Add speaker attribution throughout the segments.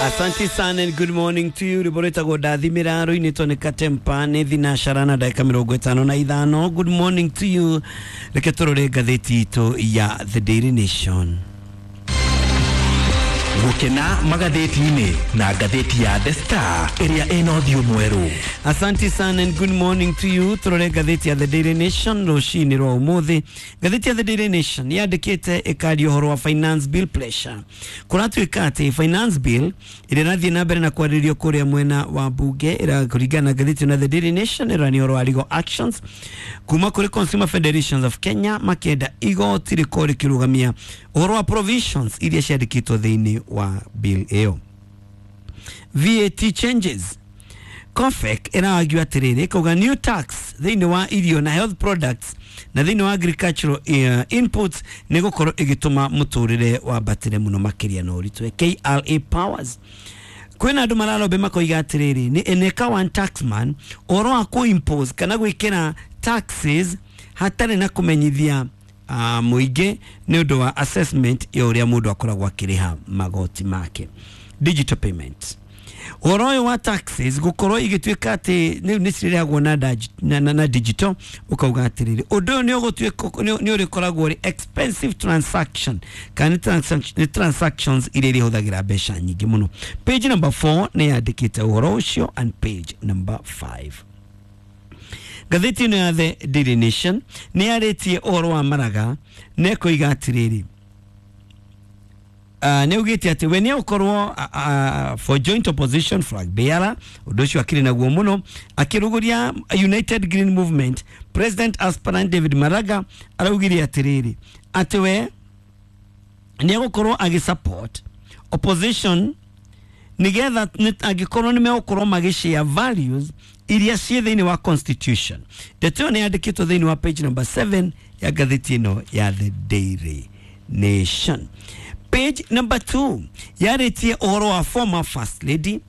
Speaker 1: Asante sana and good morning to you. Rwĩmbo rwĩtagwo ndathimĩra rũinĩtwo nĩ Katempa nĩ thinacara na ndagĩka 55. Good morning to you. Reke tũrore ngathĩti itũ ya The Daily Nation.
Speaker 2: Gũkena magathĩti-inĩ na ngathĩti ya The Star ĩrĩa ĩna ũthiũ mwerũ.
Speaker 1: Asante sana and good morning to you. Tũrore ngathĩti ya The Daily Nation rũcinĩ rwa ũmũthĩ. Ngathĩti ya The Daily Nation yandĩkĩte ĩkaria ũhoro wa finance bill pressure. Kũratuĩka atĩ finance bill ĩrĩa ĩrathiĩ na mbere na kwarĩrĩrio kũrĩa mwena wa mbunge kũringana na ngathĩti ĩno ya The Daily Nation ĩrania ũhoro wa legal actions kuma kũrĩ Consumer Federations of Kenya makĩenda igoti rĩkorwo rĩkĩrũgamia ũhoro wa provisions iria ciandĩkĩtwo thĩinĩ wa bill ĩyo. VAT changes, COFEC ĩrargue atĩrĩrĩ, ĩkauga new tax thĩinĩ wa irio na health products na thĩinĩ wa agricultural inputs nĩ gũkorwo ĩgĩtũma mũtũrĩre wambatĩre mũno makĩria na ũritũ. KRA powers, kwĩna andũ mararombe makoiga atĩrĩrĩ, nĩ eneka one taxman ũhoro wa kũ-impose kana gwĩkĩra taxes hatarĩ na kũmenyithia mũingĩ nĩ ũndũ wa assessment ya ũrĩa mũndũ akoragwo akĩrĩha magoti make. Digital payment, ũhoro ũyũ wa taxes gũkorwo igĩtuĩka atĩ rĩu nĩ cirĩrĩhagwo na digital, ũkauga atĩrĩrĩ, ũndũ ũyũ nĩ ũgũtuĩka nĩ ũrĩkoragwo ũrĩ expensive transaction kana nĩ transactions iria irĩhũthagĩra mbeca nyingĩ mũno. Page number 4 nĩ yandĩkĩte ũhoro ũcio and page number 5. Ngathĩti ĩno ya The Daily Nation nĩ yarĩtie ũhoro wa Maraga na ĩkoiga atĩrĩrĩ, nĩ augĩte atĩ we nĩ egũkorwo for joint opposition flag bearer. Ũndũ ũcio akĩrĩ naguo mũno. Akĩrũgũria United Green Movement president aspirant David Maraga araugire atĩrĩrĩ, atĩ we nĩ egũkorwo agĩsupport opposition nigetha angĩkorwo nĩ megũkorwo magĩshare values iria ciĩ thĩinĩ wa constitution. Ndeto ĩyo nĩ yandĩkĩtwo thĩinĩ wa page number 7 ya ngathĩti ĩno ya The Daily Nation. Page number 2 yarĩtie ũhoro wa former first lady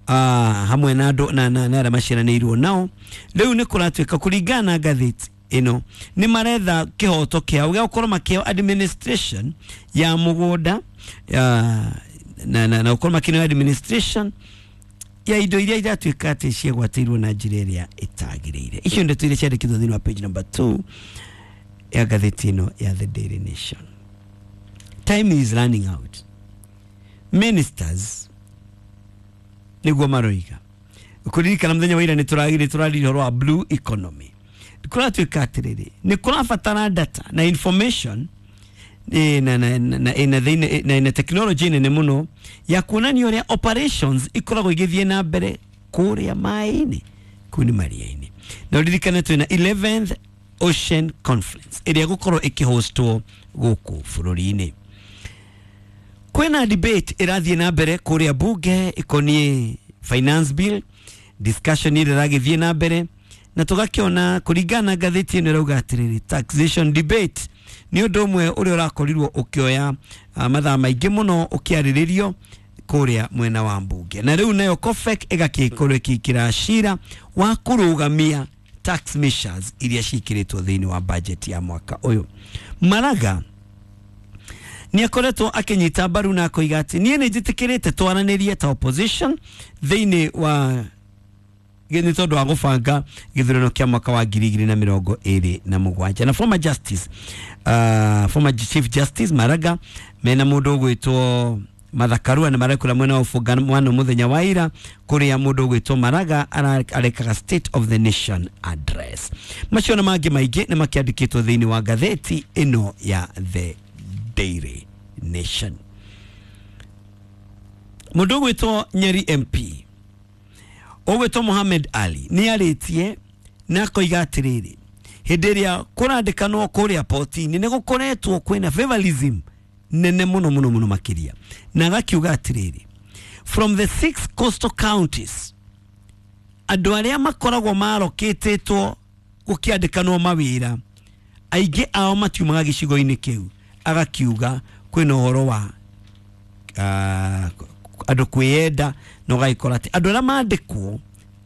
Speaker 1: hamwe na andũ na arĩa maciaranĩirwo nao. Rĩu nĩ kũratuĩka kũringana na ngathĩti ĩno nĩ maretha kĩhoto kĩao gĩa gũkorwo makĩheo administration ya mũgũnda na gũkorwo makĩneo administration ya indo iria iratuĩka atĩ ciagwatĩirwo na njĩra ĩrĩa ĩtagĩrĩire. Icio ndeto iria ciandĩkĩtwo thĩinĩ wa page number 2 ya ngathĩti ĩno ya The Daily Nation. Time is running out, ministers nĩguo maroiga. Kũririkana mũthenya wa ira nĩ tũragire tũraririe ũhoro wa blue economy. Kũratuĩka atĩrĩrĩ, nĩ kũrabatara data na information na thĩinĩ na technology nene mũno ya kuonania ũrĩa operations ikoragwo igĩthiĩ na mbere kũrĩa maĩ-inĩ, kũu nĩ maria-inĩ. Na ũririkane twĩna 11th Ocean Conference ĩrĩa ĩgũkorwo ĩkĩhostwo gũkũ bũrũri-inĩ. Kwĩna debate ĩrathiĩ na mbere kũrĩa bunge ĩkoniĩ finance bill, discussion ĩrĩa ĩragĩthiĩ na mbere, na tũgakĩona kũringana na ngathĩti ĩno ĩrauga atĩrĩrĩ, taxation debate nĩ ũndũ ũmwe ũrĩa ũrakorirwo ũkĩoya mathaa maingĩ mũno ũkĩarĩrĩrio kũrĩa mwena wa mbunge. Na rĩu nayo COFEC ĩgakĩkorwo ĩkĩingĩra cira wa kũrũgamia tax measures iria ciĩkĩrĩtwo thĩinĩ wa budget ya mwaka ũyũ. Maraga nĩ akoretwo akĩnyita mbaru na akoiga atĩ niĩ nĩ njĩtĩkĩrĩte twaranĩrie ta opposition thĩinĩ wa nĩ tondũ wa gũbanga gĩthurano kĩa mwaka wa 2027. Na former chief justice Maraga mena mũndũ ũgwĩtwo Martha Karua nĩ marekũra mwena wa ũbungamano mũthenya wa ira kũrĩa mũndũ ũgwĩtwo Maraga arekaga State of the Nation Address. Macio na mangĩ maingĩ nĩ makĩandĩkĩtwo thĩinĩ wa ngathĩti ĩno ya The Daily Nation. Mũndũ ũgwĩtwo Nyeri MP ũgwĩtwo Mohamed Ali nĩ arĩtie na akoiga atĩrĩrĩ, hĩndĩ ĩrĩa kũrandĩkanwo kũrĩa poti-inĩ nĩ gũkoretwo kwĩna favorism nene mũno mũno mũno makĩria, na agakiuga atĩrĩrĩ, from the six coastal counties andũ arĩa makoragwo marokĩtĩtwo gũkĩandĩkanwo mawĩra aingĩ ao matiumaga gĩcigo-inĩ kĩu. Agakiuga kwĩna ũhoro wa andũ kwĩyenda na ũgagĩkora atĩ andũ arĩa mandĩkwo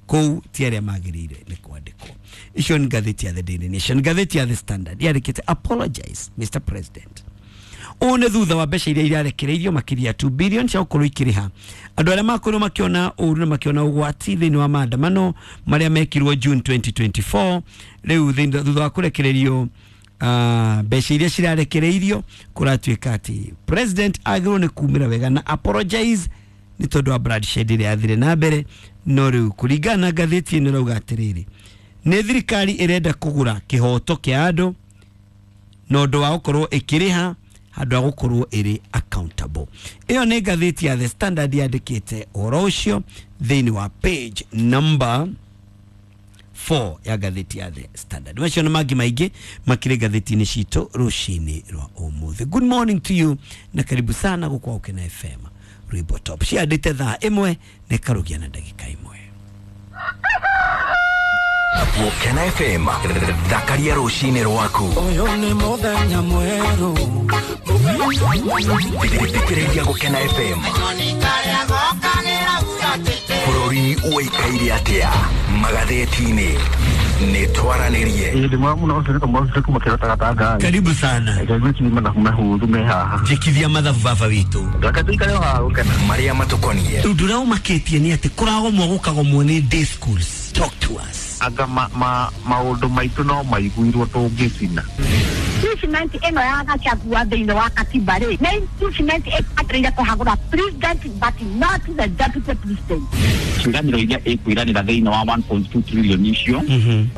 Speaker 1: kũu ti arĩa magĩrĩire nĩ kwandĩkwo. Icio nĩ ngathĩti ya The Daily Nation. Ngathĩti ya The Standard yandĩkĩte "Apologize Mr President". Ũũ nĩ thutha wa mbeca iria irarekereirio makĩria 2 billion cia gũkorwo ikĩrĩha andũ arĩa makorirwo makĩona ũru na makĩona ũgwati thĩinĩ wa maandamano marĩa mekirwo June 2024. Rĩu thutha wa kũrekererio mbeca iria cirarekereirio, kũratuĩka atĩ president agĩrĩirwo nĩ kumĩra wega na apologize nĩ tondũ wa bloodshed ĩrĩa yathire na mbere. No rĩu kũringana na ngathĩti ĩno ĩrauga atĩrĩrĩ, nĩ thirikari ĩrenda kũgũra kĩhoto kĩa andũ na ũndũ wa gũkorwo ĩkĩrĩha handũ ha gũkorwo ĩrĩ accountable. Ĩyo nĩ ngathĩti ya The Standard yandĩkĩte ũhoro ũcio thĩinĩ wa page number 4 ya ngathĩti ya The Standard. Macio na mangĩ maingĩ makĩrĩ ngathĩti-inĩ citũ rũcinĩ rwa ũmũthĩ. Good morning to you na karibu sana gũkũ Gũkena FM. Rwĩmbo top ciandĩte thaa 1 na ĩkarũgia na ndagĩka 1.
Speaker 2: Gũkena FM, thakaria rũcinĩ rwaku.
Speaker 3: Ũyũ nĩ mũthenya mwerũ.
Speaker 2: Thikĩrĩria Gũkena FM. Bũrũri ũikaire atĩa magathĩti-inĩ? Nĩ twaranĩrie.
Speaker 4: Ĩĩ ndĩ mũno ũcio nĩ kamwe kuma kĩrota gatanga.
Speaker 1: Karibu sana.
Speaker 4: Reke mathabu mahũthũ me haha.
Speaker 1: Njĩkithia mathabu baba witũ.
Speaker 4: Reke tũikare haha Gũkena.
Speaker 2: Marĩa matũkoniĩ.
Speaker 1: Ũndũ ũrĩa ũmakĩtie nĩ atĩ kũragomwo gũkagomwo nĩ day schools. Talk to us.
Speaker 4: Anga maũndũ maitũ no maiguirwo tũngĩcina.
Speaker 5: Impeachment ĩno ya Gachagua thĩinĩ wa katiba rĩ, nĩ impeachment ĩbataire kũhagũra president but not the deputy president.
Speaker 6: Ciĩranĩro iria ĩkwĩranĩra thĩinĩ wa 1.2 trillion icio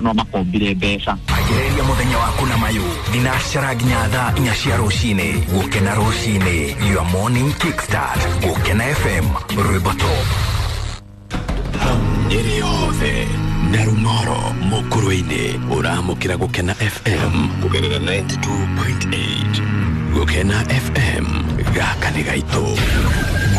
Speaker 6: no makombire mbeca.
Speaker 2: Ambĩrĩria mũthenya waku na mayũ thinacara nginya thaa 4 cia rũcinĩ. Gũkena rũcinĩ, your morning kickstart. Gũkena FM, rwĩmbo top.
Speaker 7: Nyeri yothe na Rung'oro mũkũrũ-inĩ ũramũkĩra Gũkena FM kũgerera 92.8. Gũkena FM, gaka nĩ gaitũ.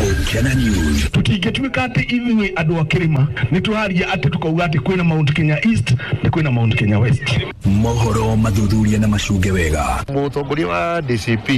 Speaker 2: Gũkena News.
Speaker 8: Tũtingĩtuĩka atĩ ithuĩ andũ a kĩrĩma nĩ tũraria atĩ tũkauga atĩ kwĩna Mount Kenya East na kwĩna Mount Kenya West.
Speaker 2: Mohoro mathuthuria na macunge wega.
Speaker 9: Mũtongoria wa DCP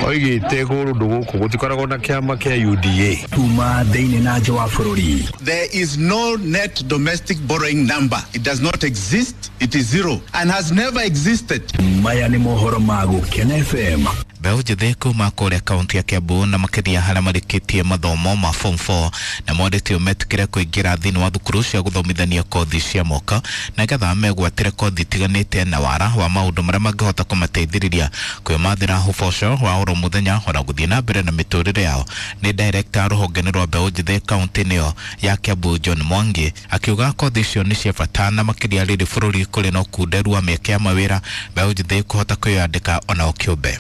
Speaker 9: oigĩte kũndũ gũkũ gũtikoragwo na kĩama kĩa UDA.
Speaker 2: Kuma thĩinĩ na nja wa bũrũri.
Speaker 10: There is no net domestic borrowing number. It does not exist. It is zero and has never existed.
Speaker 2: Maya nĩ mohoro ma Gũkena FM.
Speaker 11: Mbeũ njĩthĩ kuma kũrĩa kaunti ya Kiambu na makĩria harĩa marĩkĩtie mathomo ma form 4 na morĩtio metĩkĩre kũingĩra thĩinĩ wa thukuru cia gũthomithania kothi cia moko na nĩgetha megwatĩre kothi itiganĩte na wara wa maũndũ marĩa mangĩhota kũmateithĩrĩria kwĩmathĩra ũboco wa oro mũthenya ona gũthiĩ na mbere na mĩtũrĩre yao. Nĩ director rũhonge-inĩ rwa mbeũ njĩthĩ kaunti-inĩ ĩyo ya Kiambu John Mwangi akiuga kothi icio nĩ cia bata na makĩria rĩrĩ bũrũri kũrĩ na ũkunderu wa mĩeke ya mawĩra mbeũ njĩthĩ kũhota kwĩyandĩka onao kĩũmbe.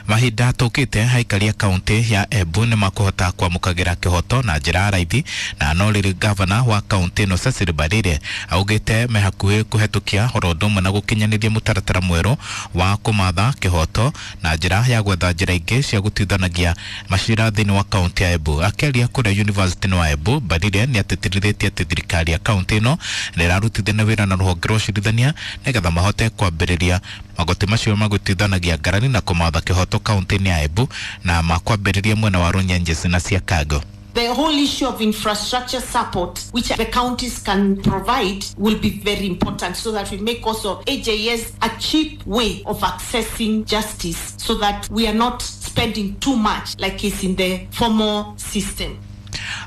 Speaker 11: Mahinda tũkĩte aikaria kaunti ya Embu nĩ makũhota kwamũkagĩra kĩhoto na njĩra ya raithi na no rĩrĩ gavana wa kaunti ĩno Cecily Mbarire augĩte me hakuhĩ kũhetũkia oro ũndũ ũmwe na gũkinyanĩria mũtaratara mwerũ wa kũmatha kĩhoto na njĩra ya gwetha njĩra ingĩ cia gũtuithanagia macira thĩinĩ wa kaunti ya Embu. Akĩaria kũrĩa University wa Embu, Mbarire nĩ atĩtĩrithĩtie atĩ thirikari ya kaunti ĩno nĩ ĩrarutithania wĩra na rũhonge rwa ũcirithania nĩgetha mahote kwambĩrĩria magoti macio magũtuithanagia ngarari na kũmatha kĩhoto kaunti-inĩ ya Embu na makwambĩrĩria mwena wa Runyenjes na Siakago.
Speaker 12: The whole issue of infrastructure support, which the counties can provide, will be very important so that we make also AJS a cheap way of accessing justice so that we are not spending too much like is in the formal system.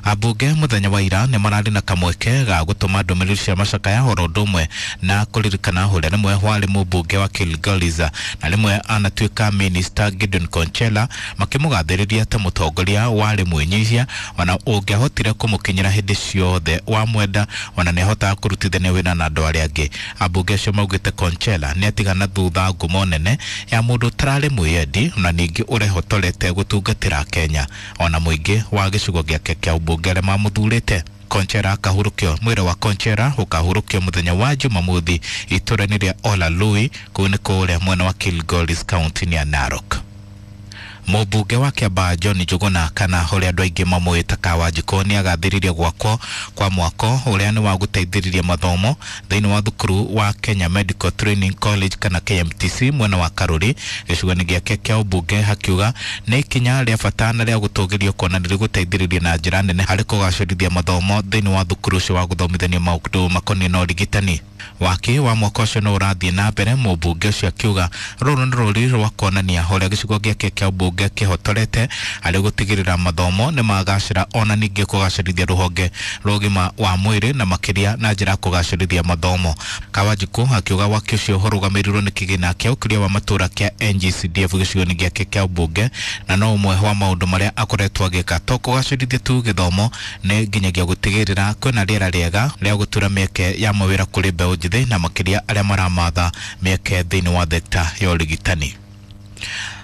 Speaker 11: Ambunge muthenya wa ira nĩ mararĩ na kamweke ga gũtũma ndũmĩrĩri cia macakaya oro ũndũ ũmwe na kũririkana ũrĩa rĩmwe warĩ mũmbunge wa Kilgoris na rĩmwe anatuĩka minister Gideon Konchela makĩmũgathĩrĩria ta mũtongoria warĩ mwĩnyihia ona ũngĩahotire kũmũkinyĩra hĩndĩ ciothe wamwenda ona nĩahotaga kũrutithania wĩra na andũ arĩa angĩ. Ambunge acio maugĩte Konchela nĩatigana thutha ngumo nene ya mũndũ ũtararĩ mwĩyendi ona ningĩ ũrehotorete gũtungatĩra Kenya ona mũingĩ wa gĩcigo gĩake kĩa ũmbunge arĩa mamũthurĩte. Konchera akahurũkio mwĩrĩ wa Konchera ũkahurũkio mũthenya wa Jumamothi itũũra-inĩ rĩa Olalui kũu nĩ kũrĩa mwena wa Kilgoris kaunti-inĩ ya Narok. Mũmbunge wa Kĩambaa John Njuguna kana ũrĩa andũ aingĩ mamũĩta Kawanjikũ nĩ agathĩrĩria gwakwo kwa mwako ũrĩa nĩ wa gũteithĩrĩria mathomo thĩinĩ wa thukuru wa Kenya Medical Training College kana KMTC mwena wa Karuri gĩcigo-inĩ gĩake kĩa ũmbunge, akiuga nĩ ikinya rĩa bata na rĩa gũtũgĩrio kuona nĩ rĩgũteithĩrĩria na njĩra nene harĩ kũgacĩrithia mathomo thĩinĩ wa thukuru ũcio wa gũthomithania maũndũ makoniĩ na ũrigitani. Waki wa mwaka ũcio no ũrathiĩ na mbere, mũmbunge ũcio akiuga rũrũ nĩ rũri rwa kuonania ũrĩa gĩcigo gĩake kĩa ũmbunge kĩhotorete harĩ gũtigĩrĩra mathomo nĩ magacĩra ona ningĩ kũgacĩrithia rũhonge rwa ũgima wa mwĩrĩ na makĩria na njĩra ya kũgacĩrithia mathomo. Kawanjikũ akiuga waki ũcio ũrũgamĩrĩirwo nĩ kĩgĩna kĩa ũkũria wa matũũra kĩa NGCDF gĩcigo-inĩ gĩake kĩa ũmbunge, na no ũmwe wa maũndũ marĩa akoretwo agĩka to kũgacĩrithia tu gĩthomo nĩ nginyagia gũtigĩrĩra kwĩna rĩera rĩega rĩa gũtura mĩeke ya mawĩra kũrĩ mbeũ njĩthĩ na makĩria arĩa maramatha mĩeke thĩinĩ wa thekta ya ũrigitani.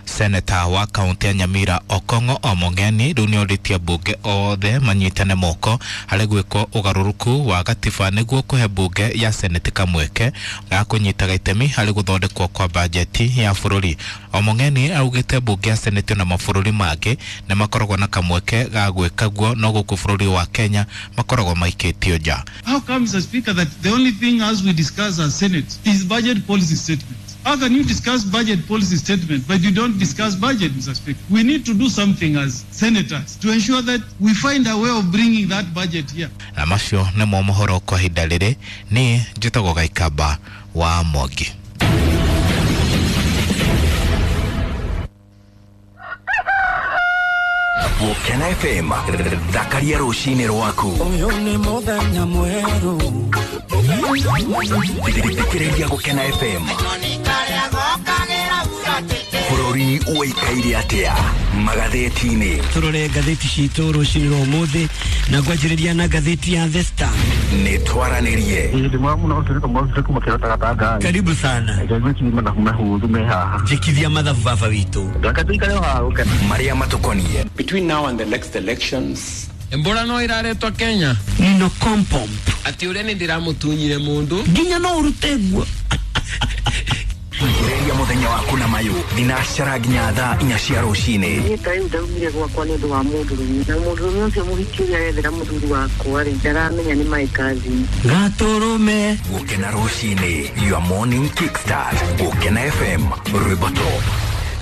Speaker 11: Seneta wa kaunti ya Nyamira Okong'o Omong'eni rĩu nĩorĩtie mbunge othe manyitane moko harĩ gwĩkwo ũgarũrũku wa gatiba nĩguo kũhe mbunge ya seneti kamweke ga kũnyitaga itemi harĩ gũthondekwo kwa bajeti ya bũrũri. Omong'eni augĩte mbunge ya seneti na mabũrũri mangĩ nĩ makoragwo na kamweke ga gwĩka guo, no gũkũ bũrũri wa Kenya makoragwo maikĩtio nja.
Speaker 13: How comes, Mr. Speaker, that the only thing as we discuss as Senate is budget policy statement? How can you discuss budget policy statement, but you don't discuss budget, Mr. Speaker? We need to do something as senators to ensure that we find a way of bringing that budget here.
Speaker 11: Na macio nĩmo mohoro kwa ihinda rĩrĩ. Niĩ njĩtagwo Gaikamba wa Mwangi.
Speaker 2: Gũkena FM, thakaria rũcinĩ rwaku.
Speaker 3: Ũyũ nĩ mũthenya mwerũ.
Speaker 2: Thikĩrĩria Gũkena FM. Bũrũri ũikaire atĩa magathĩti-inĩ?
Speaker 1: Tũrore ngathĩti citũ rũcinĩ rwa ũmũthĩ na ngwanjĩrĩria na ngathĩti ya The Star.
Speaker 2: Nĩ twaranĩrie.
Speaker 1: Karibu sana. Njĩkithia mathabu baba witũ.
Speaker 2: Marĩa matũkoniĩ.
Speaker 14: Between now and the next elections,
Speaker 15: Mbora no iraretwo Kenya.
Speaker 1: Nino kompomp.
Speaker 15: Ati ũrĩa nĩ ndĩramũtunyire mũndũ.
Speaker 1: Nginya no ũrute nguo.
Speaker 2: Thikĩrĩria mũthenya waku na mayũ thinacara nginya thaa 4 cia rũcinĩ.
Speaker 16: Niĩ ta rĩu ndaumire gwakwa nĩ ũndũ wa mũndũrũme, na mũndũrũme ũcio mũhiki ũrĩa arethera mũthuri wakwa rĩ, ndaramenya nĩ my cousin.
Speaker 1: Gatũrũme.
Speaker 2: Gũkena rũcinĩ, your morning kickstart. Gũkena FM, rwĩmbo top.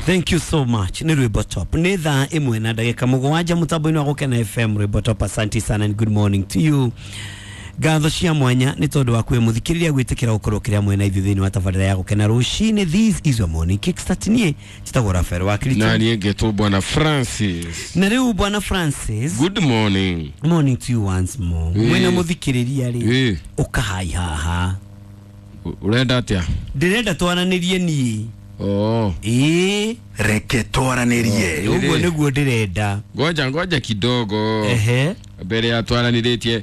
Speaker 1: Thank you so much. Ni rwĩmbo top. Nĩ thaa 1:07 mũtambo-inĩ wa Gũkena FM rwĩmbo top. Asante sana and good morning to you. Ngatho cia mwanya nĩ tondũ wa kwĩ mũthikĩrĩria gwĩtĩkĩra gũkorwo kĩrĩa mwena ithuĩ thĩinĩ wa tabarĩra ya Gũkena rũcinĩ. This is your morning kickstart. Niĩ njĩtagwo Rafael wa Kirito.
Speaker 15: Na niĩ ngetwo Bwana Francis.
Speaker 1: Na rĩu Bwana Francis,
Speaker 15: good morning.
Speaker 1: Morning to you once more. Mwena mũthikĩrĩria rĩ, ũkahai haha.
Speaker 15: Ũrenda atĩa?
Speaker 1: Ndĩrenda twaranĩrie niĩ.
Speaker 15: Oh.
Speaker 1: Ĩĩ.
Speaker 2: Reke twaranĩrie.
Speaker 1: Ũguo nĩguo ndĩrenda.
Speaker 15: Ngoja kidogo.
Speaker 1: Ehe.
Speaker 15: Mbere ya twaranĩrĩtie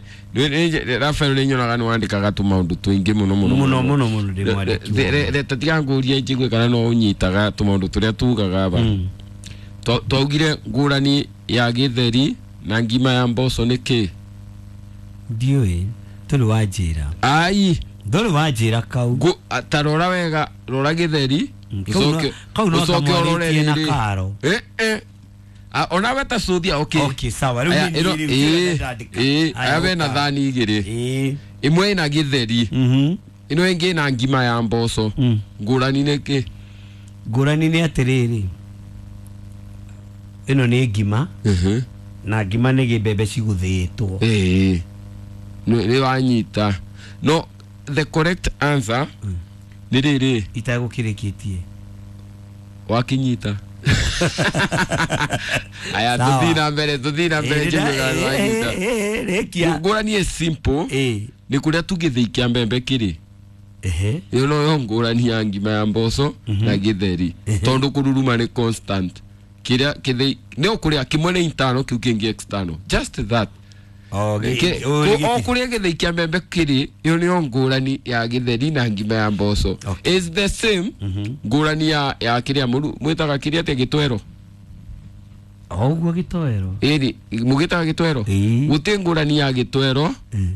Speaker 15: Rafael nĩ nyonaga nĩ wandĩkaga tũmaũndũ tũingĩ mũno mũno
Speaker 1: mũno mũno mũno ndĩ mwandĩki.
Speaker 15: Tatiga ngũrie njigue kana no ũnyitaga tũmaũndũ tũrĩa tugaga aba. Twaugire ngũrani ya gĩtheri na ngima ya mboco nĩ kĩ?
Speaker 1: Ndiũĩ, ndũrĩ wanjĩra.
Speaker 15: Ai,
Speaker 1: ndũrĩ wanjĩra kau.
Speaker 15: Ta rora wega, rora gĩtheri.
Speaker 1: Kau no kamwarĩtie na karo.
Speaker 15: Ona we ta cuthia. Okay.
Speaker 1: Okay, sawa. Rĩu
Speaker 15: nĩ aya wena thani igĩrĩ. Ĩmwe ĩna gĩtheri. Ĩno ĩngĩ ĩna ngima ya mboco. Ngũrani nĩ kĩ?
Speaker 1: Ngũrani nĩ atĩrĩrĩ, ĩno nĩ ngima na ngima nĩ gĩmbembe cigũthĩĩtwo.
Speaker 15: Nĩ wanyita. No the correct answer nĩ rĩrĩ.
Speaker 1: Itagũkĩrĩkĩtie.
Speaker 15: Wakinyita. Aya tuthii na mbere njiguaga. Ngũrani ĩ simple. Nĩ kũrĩa tũgĩthĩi kĩa mbembe kĩrĩ. Ĩyo noyo ngũrani ya ngima ya mboco na gĩtheri. Tondũ kũruruma nĩ constant. Kĩrĩa kĩthĩi nĩ ũkũrĩa kĩmwe nĩ internal kĩu kĩngĩ external. Just that. O kũrĩa gĩthĩi kĩa mbembe kĩrĩ, ĩyo nĩyo ngũrani ya gĩtheri na ngima ya mboco. Is the same ngũrani ya kĩrĩa mwĩtaga kĩrĩa atĩa gĩtwero.
Speaker 1: Ũguo gĩtoero.
Speaker 15: Ĩni mũgĩtaga gĩtoero. Gũtirĩ ngũrani ya gĩtoero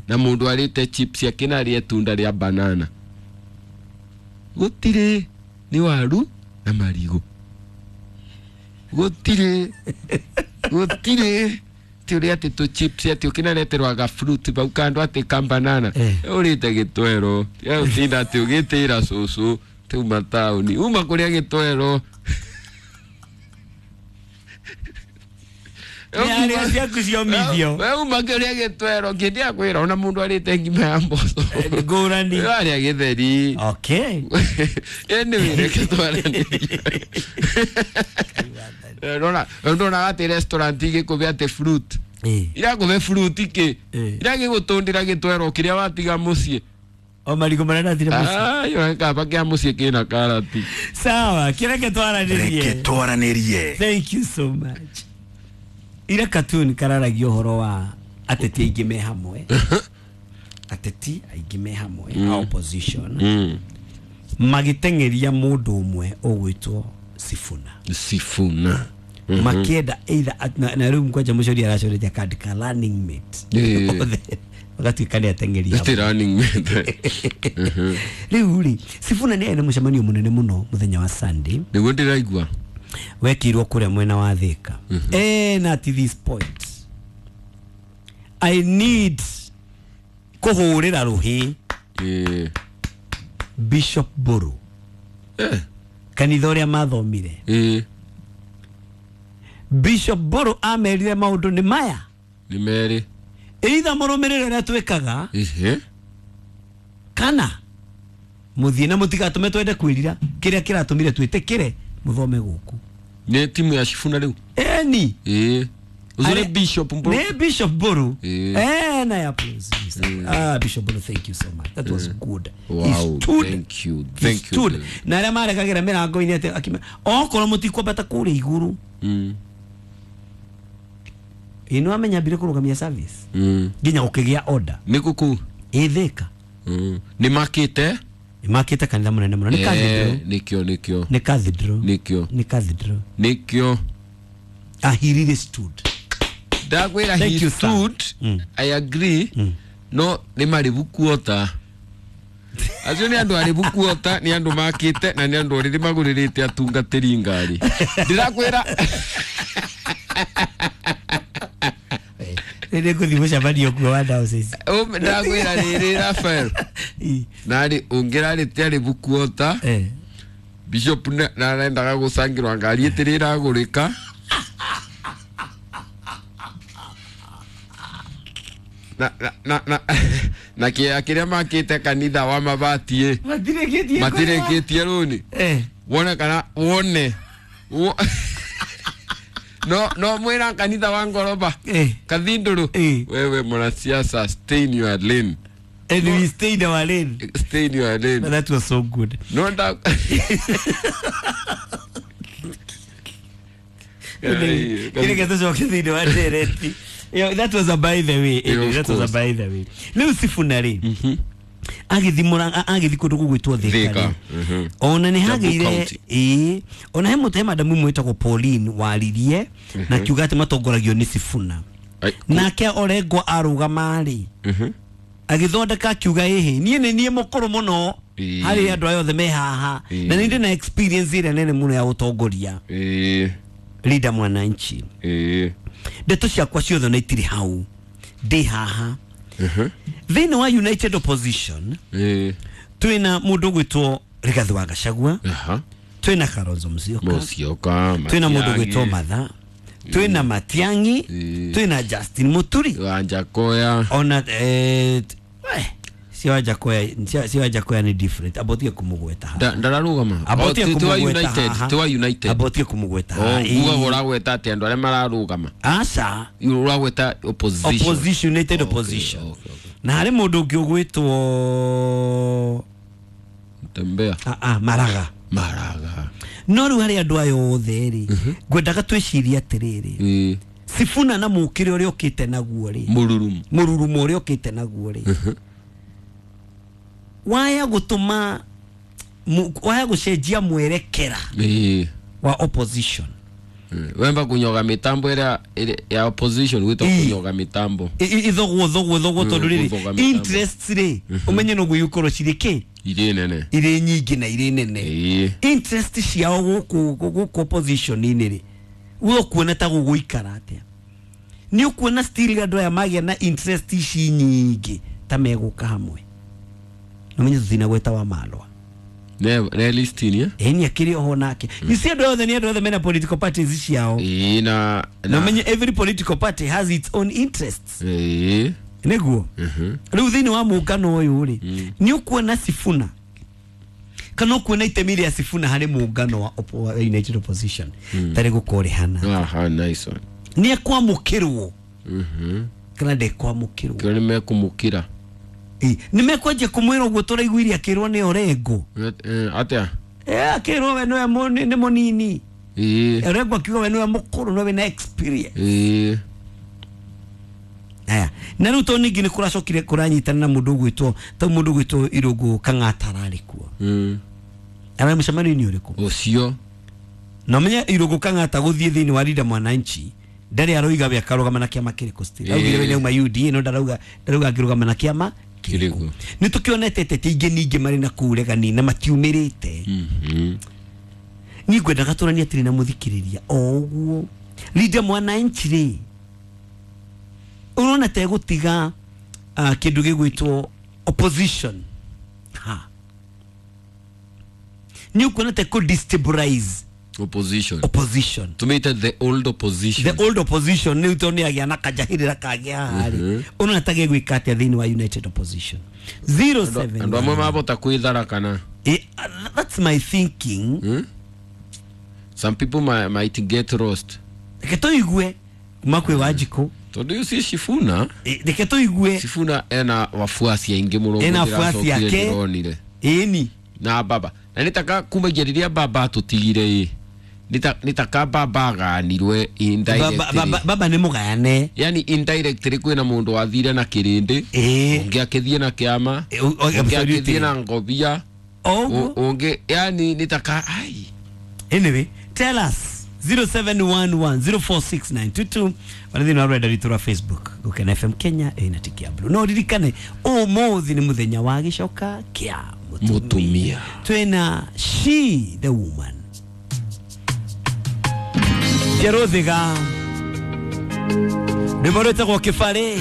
Speaker 15: na mũndũ arĩte chips yake na arĩe itunda rĩa banana. Gũtirĩ, nĩ waru na marigũ. Gutire gutire ti uria ati tu chips ati ukinareterwa ga fruit bau kando ati ka banana urite gitwero ya utinda ati ugitira cucu uma tauni uma kuria gitwero.
Speaker 1: Nĩ ciaku ciomithio.
Speaker 15: We uma kuria gitwero kĩndĩa kwĩra ona mũndũ arĩte ngima ya mboco
Speaker 1: ngũrani
Speaker 15: arĩa gĩtheri.
Speaker 1: Okay.
Speaker 15: Anyway, reke twaranĩrie. Ndona atĩ restaurant igĩkũhe atĩ fruit irakũhe fruit kĩ iragĩgũtũndĩra gĩtwero kĩrĩa watiga mũciĩ.
Speaker 1: O marigũ marĩa ndatigire mũciĩ.
Speaker 15: Ayo kaba kĩa mũciĩ kĩna karati.
Speaker 1: Sawa, kĩreke twaranĩrie.
Speaker 2: Reke twaranĩrie.
Speaker 1: Thank you so much. Ira cartoon kararagia ũhoro wa ateti aingĩ me hamwe. Ateti aingĩ me hamwe a opposition magĩteng'eria mũndũ ũmwe ũgwĩtwo Sifuna.
Speaker 15: Sifuna.
Speaker 1: Makienda either na rĩu kwanja mũcori aracoreria kandi ka running mate. Magatuĩka nĩ ateng'eria.
Speaker 15: Ti running mate.
Speaker 1: Rĩu rĩ Sifuna nĩ arĩ na mũcemanio mũnene mũno mũthenya wa Sunday.
Speaker 15: Nĩguo ndĩraigua.
Speaker 1: Wekirwo kũrĩa mwena wa Thika. Na at this point I need kũhũrĩra rũhĩ Bishop Mburu. Kanitha ũrĩa mathomire. Bishop Mburu amerire maũndũ nĩ maya.
Speaker 15: Nĩ merĩ.
Speaker 1: Either mũrũmĩrĩre ũrĩa twĩkaga kana mũthiĩ na mũtigatũme twende kwĩrira kĩrĩa kĩratũmire twĩtĩkĩre muthome gũkũ.
Speaker 15: Nĩ timu ya Sifuna rĩu.
Speaker 1: Eni.
Speaker 15: Uzure Bishop Mburu.
Speaker 1: Ne Bishop Mburu. Na ya please. Bishop Mburu, thank you so much. That was good.
Speaker 15: Wow,
Speaker 1: he stood.
Speaker 15: Thank you. Thank you.
Speaker 1: Na arĩa marekagĩra mĩrango-inĩ atĩ akime okorwo mũtikwambata kũrĩa igũrũ. Ĩ nĩ wamenya ambire kũrũgamia service. Nginya gũkĩgĩa order.
Speaker 15: Nĩ gũkũ.
Speaker 1: Ĩ Thika.
Speaker 15: Nĩ makĩte?
Speaker 1: Nĩ makĩte kanitha mũnene mũno. Nĩ cathedral.
Speaker 15: Nĩkĩo nĩkĩo.
Speaker 1: Nĩ cathedral.
Speaker 15: Nĩkĩo.
Speaker 1: Nĩ cathedral.
Speaker 15: Nĩkĩo.
Speaker 1: He really stood.
Speaker 15: Ndakwĩra he stood. I agree. No nĩ marĩbu kuota. Acio nĩ andũ arĩbu kuota, nĩ andũ makĩte na nĩ andũ rĩrĩ magũrĩrĩte atungatĩri ngari. Ndĩrakwĩra
Speaker 1: Nĩ ngũthiĩ mũcemanio kuo wa diocese.
Speaker 15: Ndakwĩra rĩrĩ Raphael. Narĩ ũngĩrarĩte arĩbu kuota. Bishop narendaga gũcangĩrwo ngari ĩtĩrĩ ĩragũrĩka. Na kĩa kĩrĩa makĩte kanitha wa mabati matirĩkĩtie rũni. Wone kana wone. No mwĩra kanitha wa ngoroba kathindũrũ. Wewe mwanasiasa, stay in your lane.
Speaker 1: And we stay in our lane.
Speaker 15: Stay in your lane.
Speaker 1: But that was so good.
Speaker 15: No doubt.
Speaker 1: That was a by the way. That was a by the way. Leo Sifuna rĩ agĩthi kũndũ gũgwĩtwo Thika. Ona nĩ hagĩire ona he mũthe madamu mwĩtagwo Pauline waririe na kiuga atĩ matongoragio nĩ Sifuna. Nake Orengo arũgama rĩ agĩthondeka akiuga ĩhĩ niĩ nĩ niĩ mũkũrũ mũno harĩ andũ aya othe me haha na nĩ ndĩ na experience ĩrĩa nene mũno ya ũtongoria. Leader mwananchi. Ndeto ciakwa ciothe na itirĩ hau ndĩ haha. Thĩinĩ wa United Opposition twĩna mũndũ ũgwĩtwo Rigathi wa Gachagua, twĩna Kalonzo Musyoka, twĩna mũndũ ũgwĩtwo Matha, twĩna Matiang'i, twĩna Justin Muturi,
Speaker 15: Wanjakoya
Speaker 1: ona si Wanjakoya ni different. Abotie kumugweta haha.
Speaker 15: Ndararugama.
Speaker 1: Abotie kumugweta haha.
Speaker 15: Tiwa United.
Speaker 1: Abotie kumugweta haha.
Speaker 15: Uga uragweta ati andu aria mararugama.
Speaker 1: Aca.
Speaker 15: Uragweta opposition.
Speaker 1: Opposition, United Opposition. Okay. Na hari mundu ungi ugwitwo
Speaker 15: Tembea.
Speaker 1: Maraga.
Speaker 15: Maraga.
Speaker 1: No riu hari andu aya othe ri ngwendaga twicirie atiriri. Sifuna na mukire uria ukite naguo ri.
Speaker 15: Mururumo.
Speaker 1: Mururumo uria ukite naguo ri. Waya gutuma waya gucenjia mwerekera wa opposition.
Speaker 15: Wemba kunyoga mitambo ira ya opposition gwitwo kunyoga mitambo.
Speaker 1: Ithogwo thogwo tondu riri interests ri umenye no guyukorwo ciri ki
Speaker 15: iri nene
Speaker 1: iri nyingi na iri nene. Interest ciao guku opposition ini ri We ũkuona ta gũgũikara atĩa? Nĩ ũkuona still andũ aya magĩa na interest ici nyingĩ ta megũka hamwe. Na menye tũtina gweta wa Malwa.
Speaker 15: Ne listini eh?
Speaker 1: Ĩni akĩrĩ oho nake. You see andũ othe nĩ andũ othe mena political parties ciao.
Speaker 15: Ĩĩ na
Speaker 1: na menye every political party has its own interests.
Speaker 15: Ĩĩ.
Speaker 1: Nĩguo. Rĩu thĩinĩ wa mũngano ũyũ rĩ, nĩ ũkuona Sifuna kana ũkuona itemi rĩa Sifuna harĩ mũngano wa United Opposition tarĩ gũkorehana.
Speaker 15: Aha, nice one.
Speaker 1: Nĩ ekwamũkĩrwo. Kana ndekwamũkĩrwo.
Speaker 15: Kĩo nĩ mekumũkĩra.
Speaker 1: Nĩ mekwanjia kũmwĩra ũguo tũraiguire akĩrwo nĩ Orengo.
Speaker 15: Atĩa?
Speaker 1: Akĩrwo we nĩwe nĩ mũnini. Orengo akiuga we nĩwe mũkũrũ nĩwe wĩna experience. Aya, na rĩu tondũ ningĩ nĩ kũracokire kũranyitana na mũndũ ũgwĩtwo ta mũndũ ũgwĩtwo Irũngũ Kang'ata ararĩ kuo. Ararĩ mũcemanio-inĩ ũrĩkũ?
Speaker 15: Ũcio.
Speaker 1: Na ũmenye Irũngũ Kang'ata gũthiĩ thĩinĩ wa Linda Mwananchi ndarĩ aroiga we akarũgama na kĩama kĩrĩkũ still. Augire we nĩauma UDA no ndarauga angĩrũgama na kĩama kĩrĩkũ. Nĩ tũkĩonete ateti aingĩ ningĩ marĩ na kũu ũregani na matiumĩrĩte. Niĩ ngwendaga tũranie atĩrĩ na mũthikĩrĩria o ũguo Linda Mwananchi rĩ, ũrona ta ĩgũtiga kĩndũ gĩgwĩtwo opposition. Ha. Nĩ ũkuona ta ĩkũ destabilize
Speaker 15: opposition.
Speaker 1: Opposition.
Speaker 15: Tumite the old opposition.
Speaker 1: The old opposition nĩ tondũ nĩagĩa na kajahĩrĩra kagĩa haha. Ũrona ta gĩgwĩka atĩa thĩinĩ wa United Opposition? 07.
Speaker 15: Andũ amwe mabota kwĩthara kana.
Speaker 1: That's my thinking.
Speaker 15: Some people might get lost.
Speaker 1: Reke tũigue kuma kwĩ Wanjikũ.
Speaker 15: Tondũ you see Sifuna.
Speaker 1: Reke tũigue.
Speaker 15: Sifuna ena wafuasi aingĩ mũno.
Speaker 1: Ena wafuasi ake. Ĩni.
Speaker 15: Na baba. Na nĩtaka kumagia rĩrĩa baba atũtigire ĩ. Nĩtaka baba aganirwe indirectly.
Speaker 1: Baba nĩ mũgayane.
Speaker 15: Yani indirectly kwĩna mũndũ wathire na kĩrĩndĩ. Ũngĩ akĩthiĩ na kĩama. Ũngĩ akĩthiĩ na ngobia. Ũngĩ yani nĩtaka ai.
Speaker 1: Anyway, tell us 0711046922 wala thĩinĩ wa rũrenda rwitũ rwa Facebook Gũkena FM Kenya ĩna tiki ya blue. No ririkane ũmũthĩ nĩ mũthenya wa gĩcoka kĩa mũtumia. Twĩna She the Woman Jerothiga rwĩmbo rwĩtagwo Kĩbarĩ.